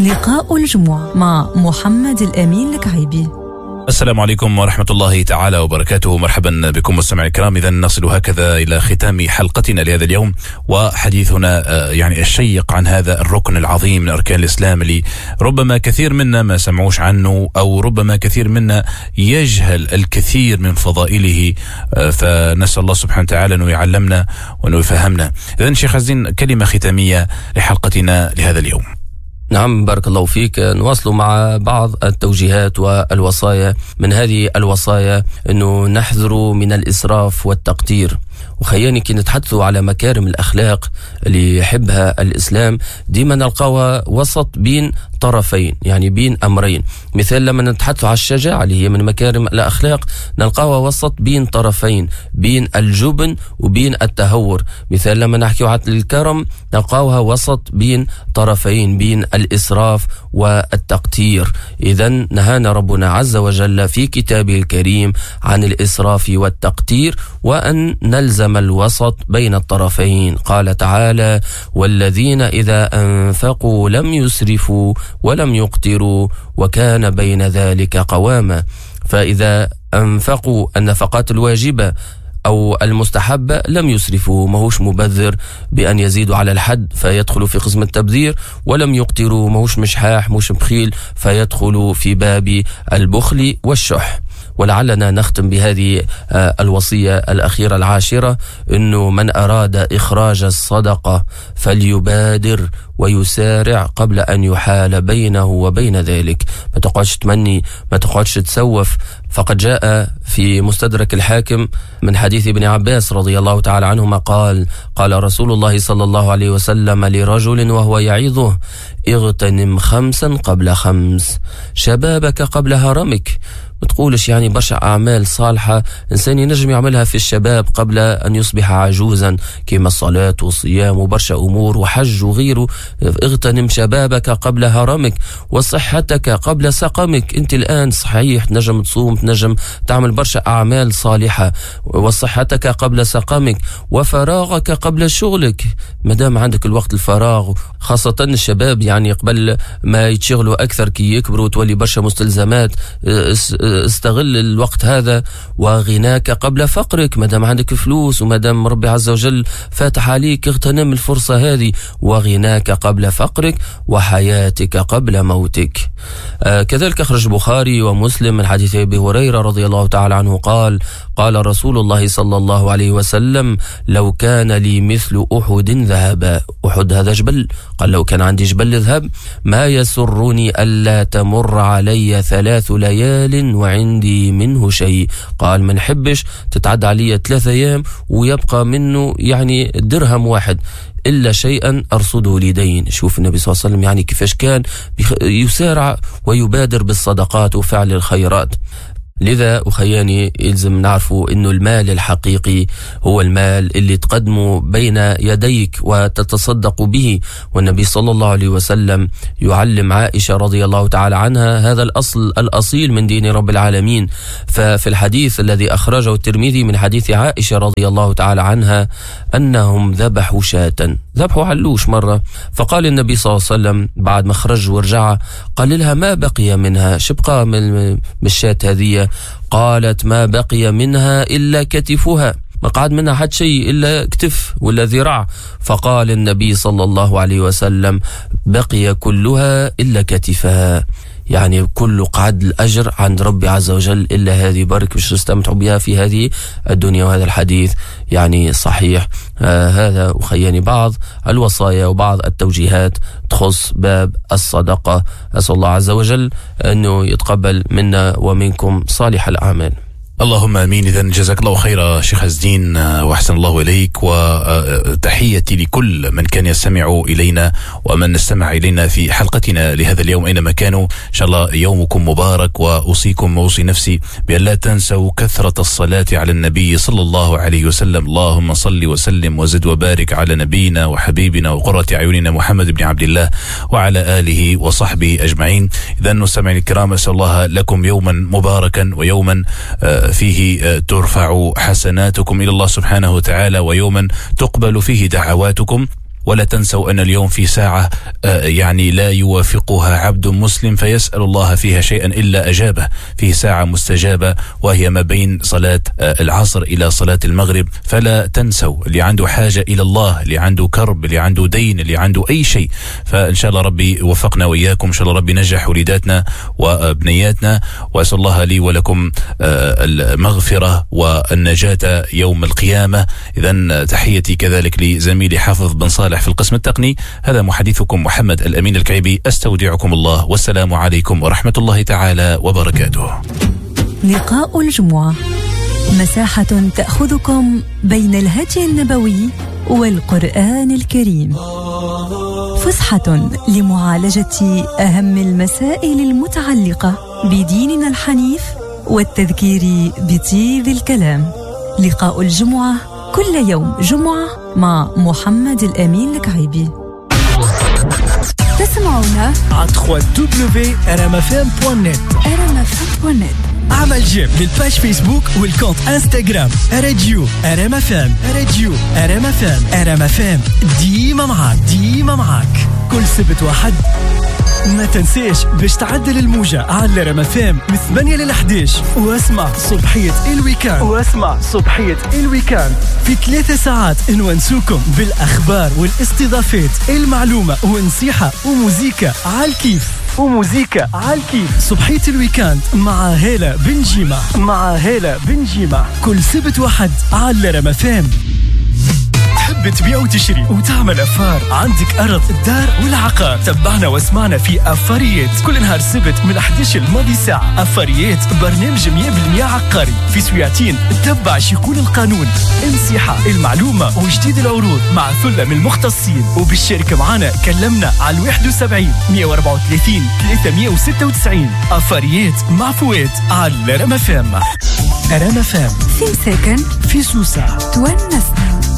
لقاء الجمعة مع محمد الأمين الكعيبي. السلام عليكم ورحمة الله تعالى وبركاته. مرحبا بكم مستمعي الكرام. إذا نصل هكذا إلى ختام حلقتنا لهذا اليوم وحديثنا يعني الشيق عن هذا الركن العظيم من أركان الإسلام اللي ربما كثير منا ما سمعوش عنه، أو ربما كثير منا يجهل الكثير من فضائله، فنسأل الله سبحانه وتعالى أنه يعلمنا وأنه يفهمنا. إذا شيخ عزين، كلمة ختامية لحلقتنا لهذا اليوم. نعم، بارك الله فيك. نواصل مع بعض التوجيهات والوصايا. من هذه الوصايا أنه نحذر من الإسراف والتقتير. وخياني كي نتحدثوا على مكارم الأخلاق اللي يحبها الإسلام ديما نلقاوها وسط بين طرفين، يعني بين أمرين. مثال لما نتحدثوا على الشجاعة اللي هي من مكارم الأخلاق نلقاوها وسط بين طرفين، بين الجبن وبين التهور. مثال لما نحكيو على الكرم نلقاوها وسط بين طرفين، بين الإسراف والتقتير. إذن نهانا ربنا عز وجل في كتابه الكريم عن الإسراف والتقتير وأن نلزم الوسط بين الطرفين. قال تعالى: والذين إذا أنفقوا لم يسرفوا ولم يقتروا وكان بين ذلك قواما. فإذا أنفقوا النفقات الواجبة أو المستحبة لم يسرفوا، ماهوش مبذر بأن يزيدوا على الحد فيدخل في قسم التبذير، ولم يقتروا، ماهوش مشحاح مش بخيل فيدخل في باب البخل والشح. ولعلنا نختم بهذه الوصية الأخيرة العاشرة، أنه من أراد إخراج الصدقة فليبادر ويسارع قبل أن يحال بينه وبين ذلك. ما تقعدش تمني، ما تقعدش تسوف. فقد جاء في مستدرك الحاكم من حديث ابن عباس رضي الله تعالى عنهما قال: قال رسول الله صلى الله عليه وسلم لرجل وهو يعظه: اغتنم 5 قبل 5، شبابك قبل هرمك. ما تقولش يعني برشا أعمال صالحة إنسان ينجم يعملها في الشباب قبل أن يصبح عجوزا، كما الصلاة والصيام وبرشا أمور وحج وغيره. اغتنم شبابك قبل هرمك، وصحتك قبل سقمك. أنت الآن صحيح تنجم تصوم، تنجم تعمل برشا أعمال صالحة. وصحتك قبل سقمك، وفراغك قبل شغلك. مادام عندك الوقت الفراغ، خاصة الشباب يعني قبل ما يتشغلوا أكثر كي يكبروا وتولي برشا مستلزمات، استغل الوقت هذا. وغناك قبل فقرك، مادام عندك فلوس ومادام ربي عز وجل فاتح عليك اغتنم الفرصة هذه. وغناك قبل فقرك، وحياتك قبل موتك. كذلك أخرج البخاري ومسلم من حديث أبي هريرة رضي الله تعالى عنه قال: قال رسول الله صلى الله عليه وسلم: لو كان لي مثل أحد ذهبا. أحد هذا جبل، قال لو كان عندي جبل ذهب ما يسرني ألا تمر علي 3 ليال وعندي منه شيء. قال ما نحبش تتعدى علي 3 أيام ويبقى منه يعني درهم واحد إلا شيئا أرصده لدين. شوف النبي صلى الله عليه وسلم يعني كيفاش كان يسارع ويبادر بالصدقات وفعل الخيرات. لذا أخياني يلزم نعرفوا إنه المال الحقيقي هو المال اللي تقدمه بين يديك وتتصدق به. والنبي صلى الله عليه وسلم يعلم عائشة رضي الله تعالى عنها هذا الأصل الأصيل من دين رب العالمين. ففي الحديث الذي أخرجه الترمذي من حديث عائشة رضي الله تعالى عنها أنهم ذبحوا شاة، ذبحوا علوش مرة، فقال النبي صلى الله عليه وسلم بعد ما خرج ورجع قال لها: ما بقي منها؟ شبقى من الشاة هذه؟ قالت: ما بقي منها إلا كتفها، ما قعد منها حد شيء إلا كتف ولا ذراع. فقال النبي صلى الله عليه وسلم: بقي كلها إلا كتفها. يعني كل قعد الأجر عند ربي عز وجل إلا هذه برك باش نستمتع بها في هذه الدنيا. وهذا الحديث يعني صحيح. هذا أخياني بعض الوصايا وبعض التوجيهات تخص باب الصدقة. أسأل الله عز وجل أنه يتقبل منا ومنكم صالح الأعمال. اللهم امين. اذا جزاك الله خيرا شيخ عز الدين واحسن الله اليك، وتحياتي لكل من كان يستمع الينا ومن استمع الينا في حلقتنا لهذا اليوم اينما كانوا. ان شاء الله يومكم مبارك، واوصيكم واوصي نفسي بان لا تنسوا كثرة الصلاة على النبي صلى الله عليه وسلم. اللهم صل وسلم وزد وبارك على نبينا وحبيبنا وقرة اعيننا محمد بن عبد الله وعلى اله وصحبه اجمعين. اذا مستمعينا الكرام، اسال الله لكم يوما مباركا ويوما فيه ترفع حسناتكم إلى الله سبحانه وتعالى، ويوما تقبل فيه دعواتكم. ولا تنسوا أن اليوم في ساعة يعني لا يوافقها عبد مسلم فيسأل الله فيها شيئا إلا أجابه، في ساعة مستجابة وهي ما بين صلاة العصر إلى صلاة المغرب. فلا تنسوا اللي عنده حاجة إلى الله، اللي عنده كرب، اللي عنده دين، اللي عنده أي شيء، فإن شاء الله ربي وفقنا وإياكم، إن شاء الله ربي نجح وليداتنا وبنياتنا، وأسأل الله لي ولكم المغفرة والنجاة يوم القيامة. إذن تحيتي كذلك لزميلي حافظ بن صالح في القسم التقني. هذا محدثكم محمد الأمين الكعيبي، أستودعكم الله والسلام عليكم ورحمة الله تعالى وبركاته. لقاء الجمعة، مساحة تأخذكم بين الهدي النبوي والقرآن الكريم، فسحة لمعالجة أهم المسائل المتعلقة بديننا الحنيف والتذكير بطيب الكلام. لقاء الجمعة كل يوم جمعة مع محمد الأمين الكعيبي. تسمعونا على www.rmfm.net rmfm.net. عمل j'aime لل page Facebook وال compte Instagram راديو RMFM، راديو RMFM، RMFM ديما معاك، ديما معاك كل سبت وحد. ما تنساش باش تعدل الموجة على RMFM من 8 ل 11، واسمع صبحية ال week-end، واسمع صبحية ال week-end في 3 ساعات نونسوكم بالأخبار والاستضافات، المعلومة ونصيحة وموزيكا على الكيف، وموزيكا على الكيف. صبحية ال week-end مع هالة بنجيمة، مع هالة بنجيمة كل سبت وحد على RMFM. تحب تبيع وتشري وتعمل affaire، عندك أرض، الدار والعقار، تبعنا واسمعنا في أفاريات كل نهار سبت من 11 الماضي ساعة. أفاريات برنامج 100% عقاري في سويعتين، تبع شيقول القانون، النصيحة، المعلومة وجديد العروض مع ثلة من المختصين. وبالشركة معنا كلمنا على 71 134 396. أفاريات مع فؤاد على RMFM. RMFM في مساكن، في سوسة، تونسنا.